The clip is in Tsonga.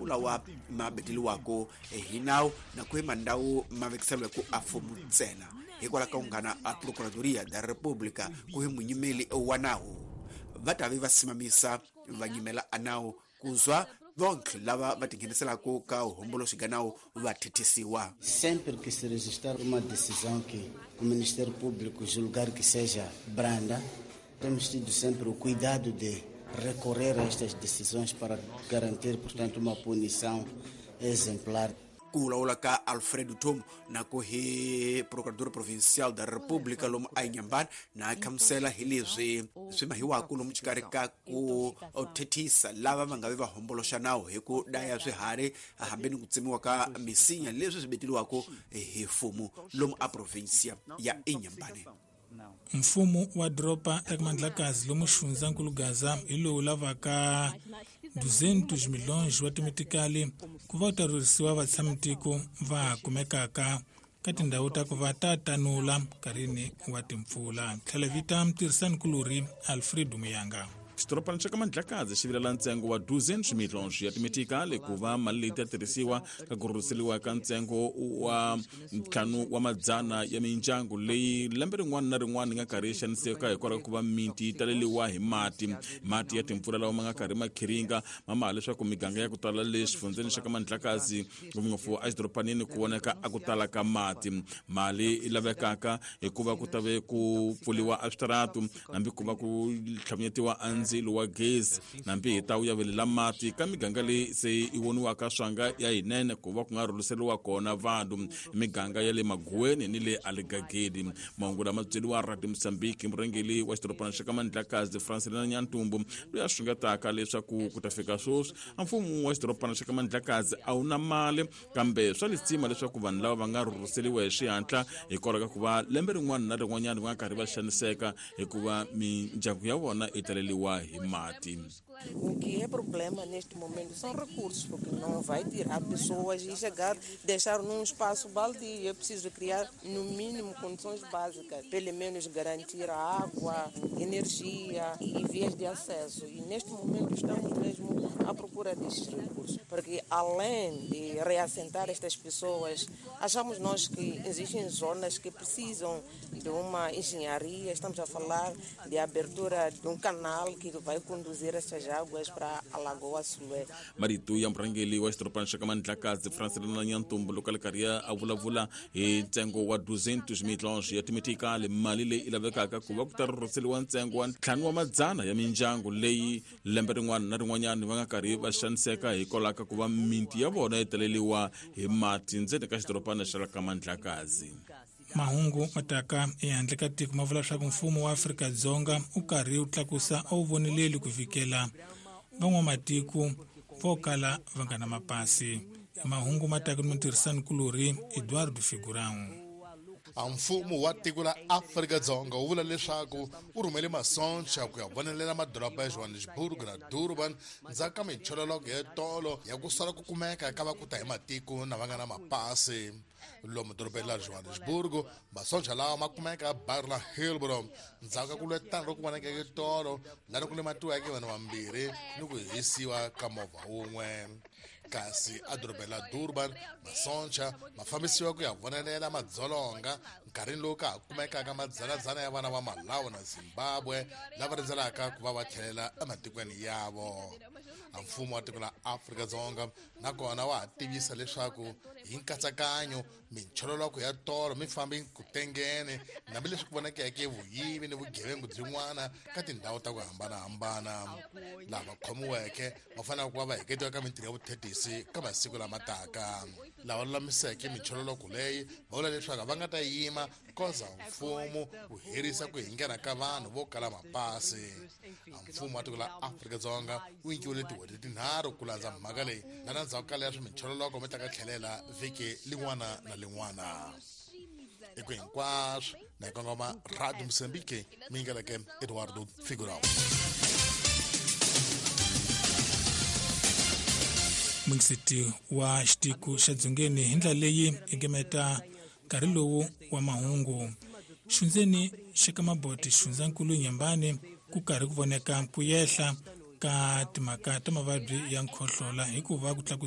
lawa ma beteliwako hi nawu na ku hi mandhawu ma vekiseliweke a fumu ntsena. Hikwalaho ka ku nghana a Procuradoria da República ku hi munyimeli wa nawu, va ta ve va simamisa va nyimela a nawu kuzwa vonke lava va tingheniselaka ka huhomboloxi ga nawu va thethisiwa. Sempre que se registrar uma decisão que o Ministério Público julgar que seja branda, temos tido sempre o cuidado de recorrer a estas decisões para garantir, portanto, uma punição exemplar. Ku vulavula ka Alfredo Tom na ku hi Procurador Provincial da República lomu a Inhambane na khamusela hi leswi swi mahiwaka lomu xikarhi ka ku thethisa lava va nga vi va homboloxa nawu hi ku daya swiharhi hambi ni ku tsemiwa ka misinya leswi swi beteliwaka hi mfumo lomu a provincia ya Inhambane. Mfumo wa doroba ra Mandlakazi lomu xifundzankulu Gaza hi lowu lavaka 200 milhões wa timitikali ku va u ta rhurhisiwa vatshamitiko va kumekaka ka tindhawu ta ku va ta tanula nkarhini wa timpfula. Tlhela vita mutirhisani-kulorhi Alfredo Muyanga. Xidorobana xa ka Mandlakazi xi vilela ntsengo wa 200 milhões ya timitikali ku va mali leyi ta tirhisiwa ka ku rhurhiseriwa ka ntsengo wa 5 wa madzana ya mindyangu leyi lembe rin'wana na rin'wana yi nga karhi yi xaniseka hikwalaho ka ku va miti yi taleriwa hi mati. Mati ya timpfula lawa ma nga karhi ma khiringa ma maha leswaku miganga ya ku tala le xifundzeni xa ka Mandlakazi, ngopfungopfu exidorobanini, ku voneka a ku tala ka mati. Mali yi lavekaka hikuva ku ta ve ku pfuriwa a switaratu, hambi ku va ku tlhavunyetiwa a ndzilo wa gezi, hambi hi ta wu yavelela mati ka miganga leyi se yi voniwaka swanga ya yinene ku va ku nga rhurhiseriwa kona vanhu, miganga ya le Maguweni ni le Aligagedi. Mahungu lama byeriwa Radio Mozambique murhangeri wa xidorobana xa ka Mandlakazi Francelina Nyantumbu, loyi a xungetaka leswaku ku ta fika sweswi a mfumo wa xidorobana xa ka Mandlakazi a wu na mali, kambe swa lisima leswaku vanhu lava va nga rhurhiseriwa hi xihatla hikwalaho ka ku va lembe rin'wana na rin'wanyana va nga karhi va xaniseka hikuva mindyangu ya vona yi taleriwa hi mati. O que é problema neste momento são recursos, porque não vai tirar pessoas e chegar, deixar num espaço baldio. É preciso criar, no mínimo, condições básicas, pelo menos garantir a água, energia e vias de acesso. E neste momento estamos mesmo à procura destes recursos, porque além de reassentar estas pessoas, achamos nós que existem zonas que precisam de uma engenharia. Estamos a falar de abertura de um canal que vai conduzir essas águas para a Lagoa Sulé. Marito ya murhangeri wa xidorobana xa ka Mandlakazi Francelina Nyantumbu loko a le karhi a vulavula hi ntsengo wa 200 milhões ya timitikali, mali leyi yi lavekaka ku va ku ta rhurhiseriwa ntsengo wa 5 wa madzana ya mindyangu leyi lembe rin'wana na rin'wanyana va nga karhi va xaniseka hikwalaho ka ku va miti ya vona yi taleriwa hi mati ndzeni ka xidorobana xa ka Mandlakazi. Mahungu ma taka ehandle ka tiko ma vula leswaku mfumo wa Afrika-Dzonga wu karhi wu tlakusa a wu voneleli ku fikela van'wamatiko vo kala va nga na mapasi. Mahungu ma taka ni mutirhisani-kulorhi Eduardo Figurão. A mfumo wa tiko la Afrika-Dzonga wu vula leswaku wu rhumele masoncha ku ya vonelela madoroba ya Johannesburg na Durban ndzhaku ka minchololoko ya tolo ya ku sala ku kumeka ka va ku ta hi matiko na va nga na mapasi. Lomu dorobeni la Johannesburg, masoncha lawa ma kumeka baru la Hillbrow ndzhaku ka ku lwetana loku vonakeke tolo lani ku lematiweke vanhu vambirhi ni ku hisiwa ka movha wun'we. Kasi edorobeni la Durban, masoncha ma fambisiwa ku ya vonelela madzolonga nkarhini lowu ka ha kumekaka madzanadzana ya vana va Malawi na Zimbabwe lava rindzelaka ku va va tlhelela ematikweni yavo. A mfumo wa tiko la Afrika-Dzonga nakona wa ha tivisa leswaku hi nkatsakanyo minchololoko ya tolo mi fambi ku tengene, hambileswi ku vonakeke vuyivi ni vugevengu byin'wana ka tindhawu ta ku hambanahambana. Lava khomiweke va fanele ku va va heketiwa ka mintirho ya vuthethisi ka masiku lama taka. Lava lulamiseke minchololoko leyi va vula leswaku va nga ta yima koza mfumo wu herisa ku hingena ka vanhu vo kala mapasi. A mfumo wa tiko la Afrika-Dzonga wu nyikiwile tin'hweti tinharhu ku landza mhaka leyi, lana ndzhaku ka leswo minchololoko mi ta ka tlhelela vhiki lin'wana na lin'wana. Hi ku hinkwaswo na hi kongoma Radio Mozambique, mi yingeleke Eduardo Figurão. Mungiseti wa xitiko xa Dzongeni hi ndlela leyi egemeta nkarhi lowu wa mahungu. Xundzeni xa ka Maboti xifundzankulu Nyambani ku karhi ku voneka ku yehla ka timhaka ta mavabyi ya nkhohlola hikuva ku tlakusiwa